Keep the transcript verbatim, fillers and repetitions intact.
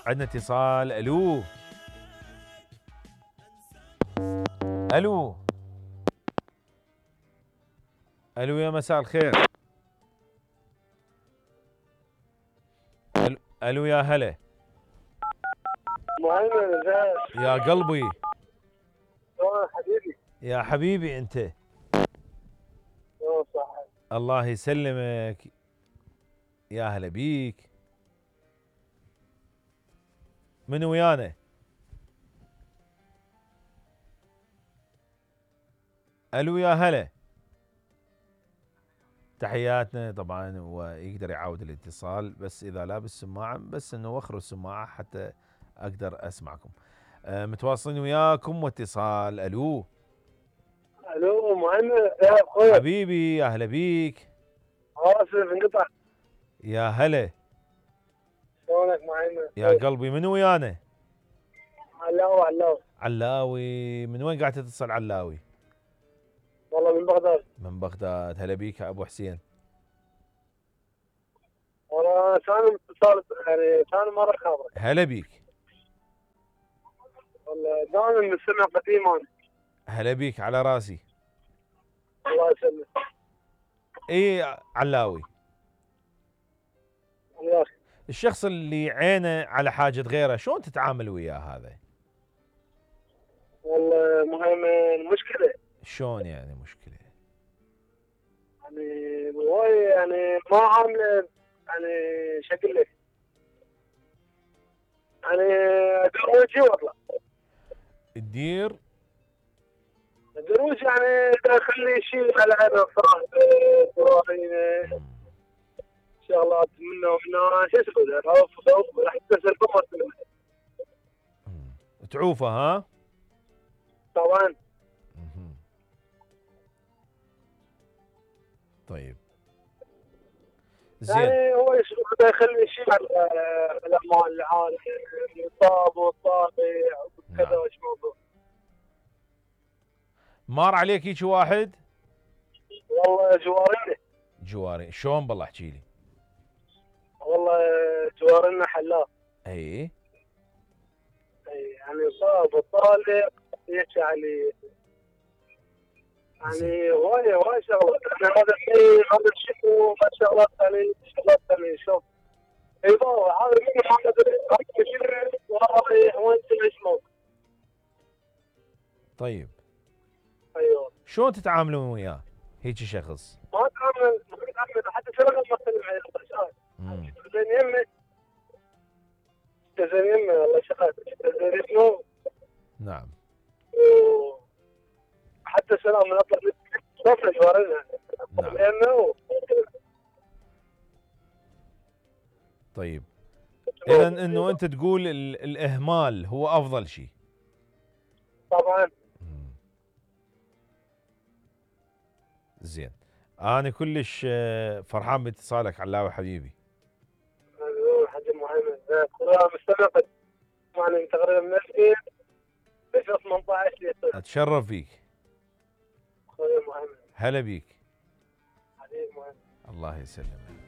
عندنا اتصال. الو الو الو يا مساء الخير. الو, ألو يا هلا. مهيمن ازيك؟ يا قلبي. اه حبيبي. يا حبيبي انت. اه صح. الله يسلمك. يا هلا بيك. من ويانا؟ الو يا هلا. تحياتنا طبعا. ويقدر يعاود الاتصال بس اذا لابس سماعه، بس انه وخروا السماعه حتى اقدر اسمعكم. أه متواصلين وياكم واتصال. الو الو مهيمن يا اخوي. حبيبي يا هلا بيك. اسف انقطع. يا هلا. شلونك مهيمن؟ يا قلبي من ويانا؟ علاوي علاوي. علاوي. من وين قاعد تتصل علاوي؟ والله من بغداد. من بغداد. هلا بيك يا ابو حسين. والله ثاني اتصال يعني ثاني مره خابرك. هلا بيك. والله دائما مستمع قديم انا. هلا بيك على راسي. الله يسلمك. اي علاوي. وياك. الشخص اللي عينه على حاجة غيره شلون تتعامل وياه هذا؟ والله مهيمن مشكله. شلون يعني مشكلة؟ يعني هواي يعني ما عامله يعني شكل لك. يعني دروجي والله. تدير الدروج يعني خلي شيء على عينه فرانك شغلات منه ومنه شو اسمه عوف راح تكسر قمر. تعوفه ها؟ طبعا. طيب زين. يعني هو بده يخلي شيء على الاعمال العاليه الطاب والطابع وكذا وش موضوع. مار عليك هيك واحد؟ والله جوارنا. جواري شلون بالله احكي لي. والله جوارنا حلاق. اي اي يعني صاب وطالع يحكي علي يعني هواي هواي شغلات. يعني هذا الشيء هذا الشيء ما شغلات ثانيه شغلات ثانيه شوف. ايضا هذا من هذا الشيء والله وين اسمه. طيب ايوه. شلون تتعاملون وياه هيك شخص؟ ما اتعامل ما اتعامل حتى شغله ما استلم عليه. زين يمي زين يمي والله شغال زين اسمه. نعم. حتى سلام من اطلع صفر جوارنا. نعم. لانه طيب اذا انه انت تقول الاهمال هو افضل شيء. طبعا. زين. انا كلش فرحان باتصالك علاوي حبيبي. حاجه مهمه. انا مستمع يعني تقريبا من ألفين ثمانية عشر. اتشرف فيك. اخوي مهمه. هلا بيك. حبيبي مهمه. الله يسلمك.